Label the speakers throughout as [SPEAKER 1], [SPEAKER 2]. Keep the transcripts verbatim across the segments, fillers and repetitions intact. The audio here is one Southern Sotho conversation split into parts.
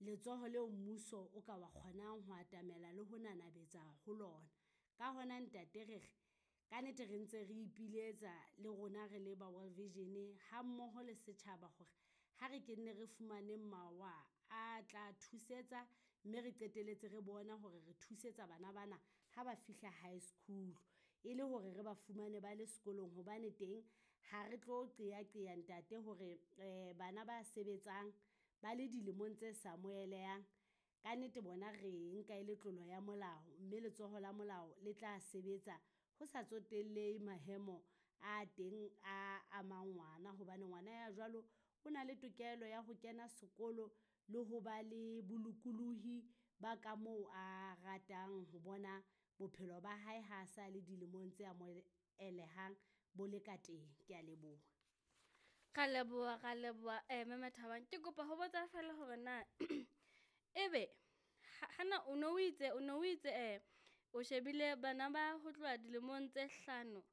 [SPEAKER 1] Letsoho leo mmuso o ka wa kgonang ho atamela le ho nanabetsa ho lona. Ka hona ntate re re, ka nnete re ntse re ipiletsa le rona re le ba World Vision ha mmoho le setjhaba hore ha re ke nne re fumaneng mawa a tla thusetsa, mme re qetelletse re bona hore re thusetsa bana bana ha ba fihla high school. E le hore re ba fumane ba le sekolong hobane teng ha re tlo qeaqea ntate hore bana ba sebetsang ba le dilemong tse sa amohelehang, ka nnete bona re nka e le tlolo ya molao, mme letsoho la molao le tla sebetsa ho sa tsotellehe mahemo a teng a amang ngwana. Hobane ngwana ya jwalo o na le tokelo ya ho kena sekolo le ho ba le bolokolohi ba ka moo a ratang ho bona bophelo ba hae ha sa le dilemong tse amohelehang bo le ka teng, kea leboha.
[SPEAKER 2] Ra leboha, ra leboha mme Mmathabang. Ke kopa ho botsa feela hore na ebe hana o no o itse o no o itse o shebile bana ba ho tloha dilemong tse hlano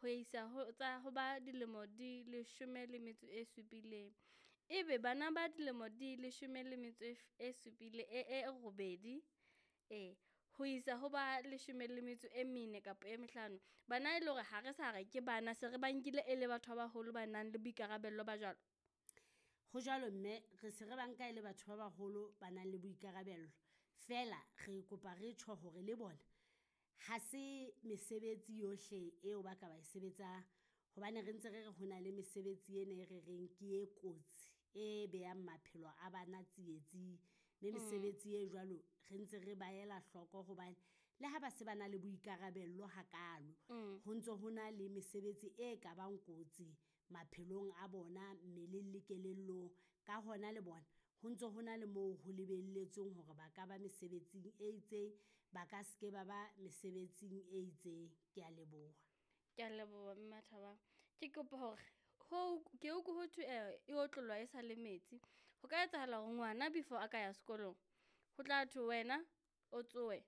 [SPEAKER 2] ho isa ho tsa ho ba dilemo di leshome le metso e supileng. Ebe bana ba dilemo di leshome le metso e supile e e robedi e ho isa ho ba leshome le metso e mene kapa e mehlano. Bana e le hore ha re sa re ke bana se re ba nkile e le batho ba baholo ba nang le boikarabello ba jwalo?
[SPEAKER 1] Ho jwalo mme, re se re ba nka e le batho ba baholo ba nang le boikarabello. Feela re kopa re tjho hore le bona ha se mesebetsi yohle eo ba ka ba e sebetsang. Hobane re ntse re re ho na le mesebetsi ena e re reng ke e kotsi, e behang maphelo a bana tsietsing. Mme mesebetsi e jwalo re ntse re ba ela hloko hobane le ha ba se ba na le boikarabello ha kalo, ho ntso ho na le mesebetsi e ka bang kotsi maphelong a bona mmeleng le kelellong. Ka hona le bona ho ntso ho na le moo ho lebelletsweng hore ba ka ba mesebetsing e itseng, ba ka ske ba ba mesebetsing e itseng, kea leboha.
[SPEAKER 2] Kea leboha mme Mmathabang. Ke kopa hore ho ke utlwe ho thwe e otlollwa e sa le metsi. Ho ka etsahala hore ngwana before a ka ya sekolong, ho tla thwe wena o tsohe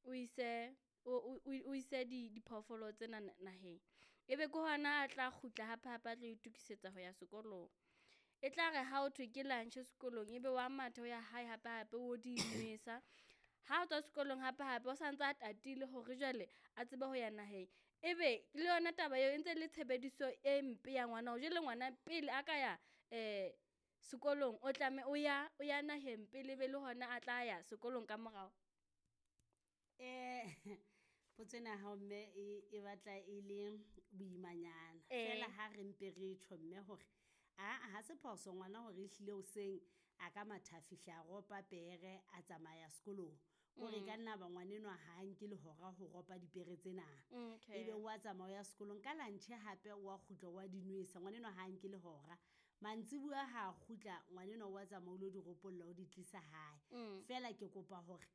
[SPEAKER 2] o ise o o ise di diphoofolo tsena naheng. Ebe ke hona a tla kgutla hape hape a tlo itokisetsa ho ya sekolong. E tla re ha ho thwe ke lunch sekolong, ebe wa matha o ya hae hape hape o di nwesa. Ha tswa sekolong hape hape o santse a tatile hore jwale a tsebe ho ya naheng. Ebe le yona taba eo e ntse le tshebediso e mpe ya ngwana o jwale ngwana pele a ka ya sekolong, o tlameha o ya o ya naheng pele ebe le hona a tla ya sekolong ka morao.
[SPEAKER 1] Potso ena ya hao mme e, e batla e le boimanyana. Feela ha re mpe re tjho mme hore aa ha se phoso ngwana hore ehlile hoseng a ka matha a fihla a ropa pere a tsamaya sekolong. Kore e ka nna ba ngwanenwa ha nke le hora ho ropa dipere tsena. Ebe wa tsamaya o ya sekolong ka lunch hape wa kgutla wa di nwesa, ngwanenwa ha nke le hora. Mantsibuya ha kgutla ngwanenwa wa tsamaya o lo di ropolla o di tlisa hae. Feela ke kopa hore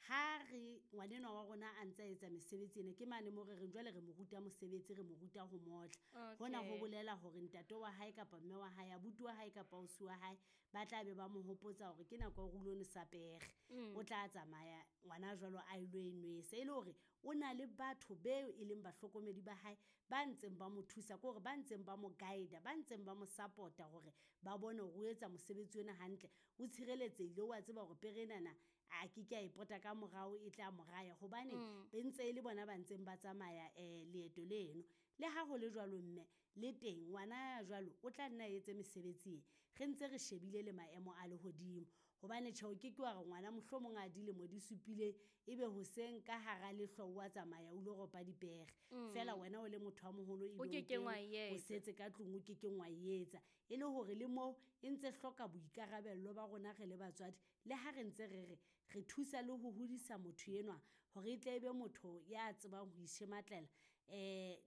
[SPEAKER 1] ha re ngwanenwa wa rona a ntsa etsa mesebetsi ena, ke mane mo re reng jwale re mo ruta mosebetsi, re mo ruta ho motla. Hona ho bolela hore ntate wa hae kapa mme wa hae, abuti wa hae kapa ausi wa hae, ba tla be ba mo hopotsa hore ke nako ya hore o lo nwesa pere. O tla tsamaya ngwana jwalo a ilo e nwesa. E le hore o na le batho beo e leng bahlokomedi ba hae, ba ntseng ba mo thusa ko hore ba ntseng ba mo guide-a, ba ntseng ba mo support-a hore ba bone hore o etsa mosebetsi ona hantle. O tshireletsehile, wa tseba hore pere enana a ke ke a e pota ka morao e tla mo raya. Hobane be ntse e le bona ba ntseng ba tsamaya leeto leno. Le ha hole jwalo mme, le teng ngwana ya jwalo o tla nna etse mesebetsi e. Re ntse re shebile le maemo a lehodimo. Hobane tjhe o keke wa re ngwana mohlomong a dilemo di supileng, ebe hoseng ka hara lehlwa o wa tsamaya o lo ropa dipere. Feela wena o le motho a moholo
[SPEAKER 2] O kekeng wa
[SPEAKER 1] o setse ka tlung o kekeng wa etsa. E le hore le mo e ntse hloka boikarabello ba rona re le batswadi. Le ha re ntse re re, re thusa le ho hodisa motho enwa hore e tle e be motho ya tsebang ho ishematlela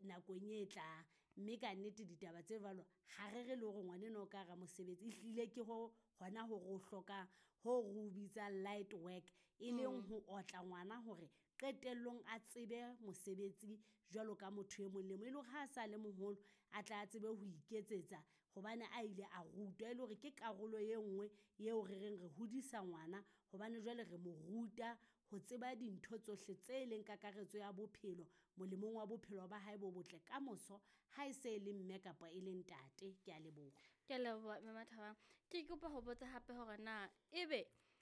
[SPEAKER 1] nakong e tlang. Mme ka nnete ditaba tse jwalo, ha re re le hore ngwanenwa o ka hara mosebetsi, ehlile ke ho hona ho re o hlokang, ho re o bitsang light work. E leng ho otla ngwana hore qetellong a tsebe mosebetsi jwalo ka motho e mong le mong. E le hore ha sa le moholo, a tla tsebe ho iketsetsa hobane a ile a rutwa. E le hore ke karolo e nngwe eo re reng re hodisa ngwana hobane jwale re mo ruta ho tseba dintho tsohle tse leng kakaretso ya bophelo, molemong wa bophelo ba hae bo botle kamoso ha e se le mme kapa e le ntate, kea leboha.
[SPEAKER 2] Kea leboha mme Mmathabang. Ke kopa ho botsa hape hore na ebe